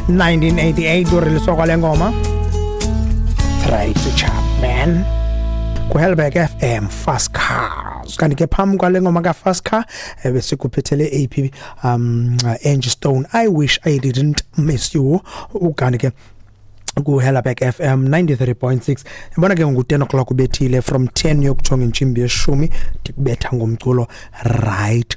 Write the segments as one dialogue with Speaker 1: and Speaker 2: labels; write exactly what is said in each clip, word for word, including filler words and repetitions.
Speaker 1: nineteen eighty-eight uriliswa kwale ngoma, Tracy Chapman, kuHelberg F M, Fast Cars. Kanti ke phambi kwale ngoma ka-Fast Car besikuphethele A P um Angie Stone, "I Wish I Didn't Miss You". Ukanti ke kuHellerberg F M ninety-three point six, ibona ke ngu-ten o'clock ubethile from ten yokujonga intsimbi yeshumi, ndikubetha ngomculo right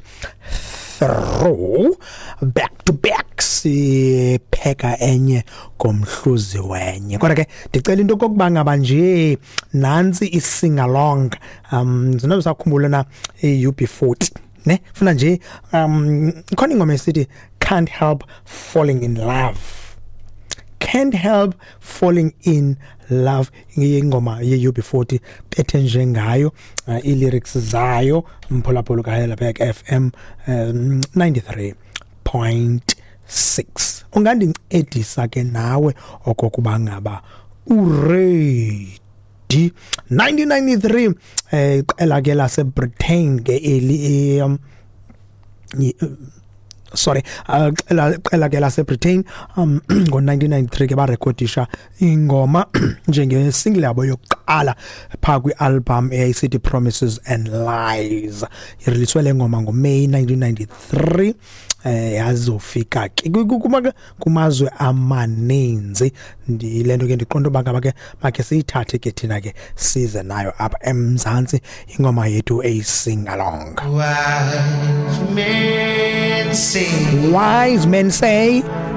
Speaker 1: through, back to back, sipheka enye ngomhluzi wenye. Kodwa ke ndicela into okokuba ngaba nje nantsi i-sing along. um zinobe sakhumbula na i-U B forty ne? Funa nje um ikhona ingoma esithi "Can't Help Falling in Love", "Can't Help Falling in Love", ingoma ye-U B forty bethe nje ngayo uh, i-lyrics zayo, mphulaphula kaHelberg F M um, ninety-three point six. Ungandincedisa ke nawe okokuba ngaba uready? nineteen ninety-three, eh iqela ke lase Britain ke eli, um, sorry, qela qela ke lase Britain um ngo nineteen ninety-three ke barekhodisha ingoma njenge single yabo yokuqala pha kwi-album eyayisithi Promises and Lies. Ireleaswe le ngoma ngoMay nineteen ninety-three, eh yazofika ke kumazwe amaninzi. Ndile nto ke ndiqonda uba ngaba ke makhe siyithathe ke thina ke size nayo apha eMzantsi, ingoma yethu eyi-sing along.
Speaker 2: Wise men say
Speaker 1: Wise men say.